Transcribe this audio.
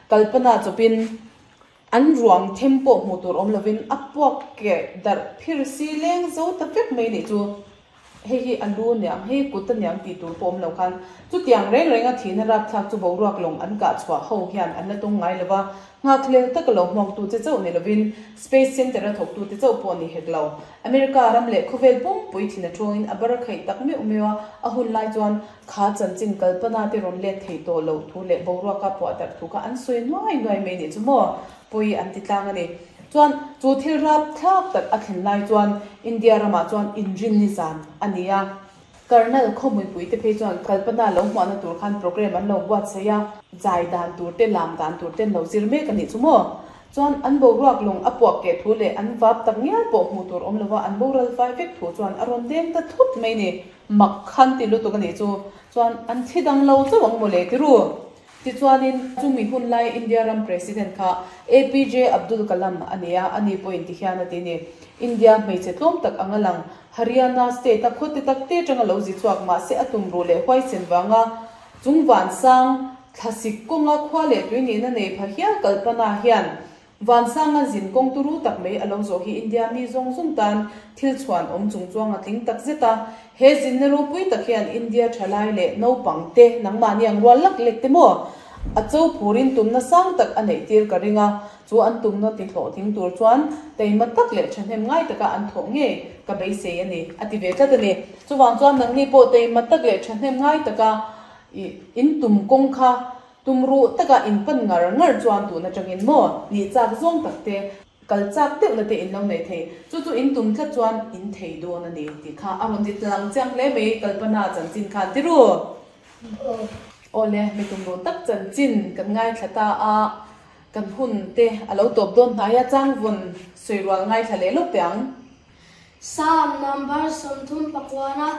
Kalpana chawpin an ruang them pawh hmuh tur awm lovin a puak keh darh phir si leng zo ta vek mai nih chu. Hei hi a lu niang, hei kut a niang tih tur pawh awm lo khan chutiang reng renga thihna rapthlak chu boruak lawng an kah chhuah ho hian an la tung ngai lo va, nghakhlel taka lo hmuaktu che chauh ni lovin Space Center-a thawktute chauh pawh ni hek lo. America ram leh khawvel pumpui thin a thawngin a bar khaih tak meuh meuh a, a hun lai chuan kha chanchin kalpana te rawn let thei tawh loh thu leh boruaka puah darh thu kha an sawi nuai nuai mai nih chu maw? Pawi an ti tlang a ni. Chuan chu thil rapthlak tak a thlen lai chuan India ramah chuan inrinni zan a ni a. Karnal khawmuipui te phei chuan kalpana lo hmuahna tur khan programme an lo buatsaih a, zai dan tur te, lam dan tur te an lo zir mek a nih chu maw? Chuan an boruak lawng a puak keh thu leh an vap tak ngial pawh hmuh tur awm lova an boral fai vek thu chuan a rawn deng ta thut mai ni. Mak khan ti lutuk a nih chu. Chuan an thi dang lo chauh ang mawle ti ru. Tichuanin, chumi hun lai India ram President kha APJ Abdul Kalam a ni a, ani pawhin ti hian a ti ni. India hmeichhe tlawm tak anga lang, Haryana state-a khawte tak te atanga lo zi chhuak mahse a tumruh leh huaisen vanga chung vansang thlasik kawnga khua leh tui nihna nei pha hial kalpana hian Vansanga zin kawng turu tak mai a lo zawh hi India mi zawng zawng tan thil chhuan awm chung chuang a tling tak zet a. He zinna ropui tak hian India thalai leh naupang te nangmahni ang rual lak lek te maw? A cho phurin tumna sang tak a neih tir ka ring a, chu an tumna ti hlawhtling tur chuan teima tak leh thahnem ngai taka an thawh ngei ka beisei a ni, a ti ve tlat a ni. Chuvang chuan nangni pawh teima tak leh thahnem ngai taka in tum kawng kha Tum ruh taka in pan ngar ngar chuan tun atangin maw nih chak zawng tak te, kal chak deuhna te in lo nei thei. Chu chu in tum tlat chuan in thei dawn a ni tih kha a rawn ti tlang chiang hle mai Kalpana chanchin khan ti ru. Aw le, mi tum ruh tak chanchin kan ngaithla ta a, kan hun te a lo tawp dawn hnai a, changvawn sawi rual ngaithla leh lawk teh ang. Psalm number 30 pakuana.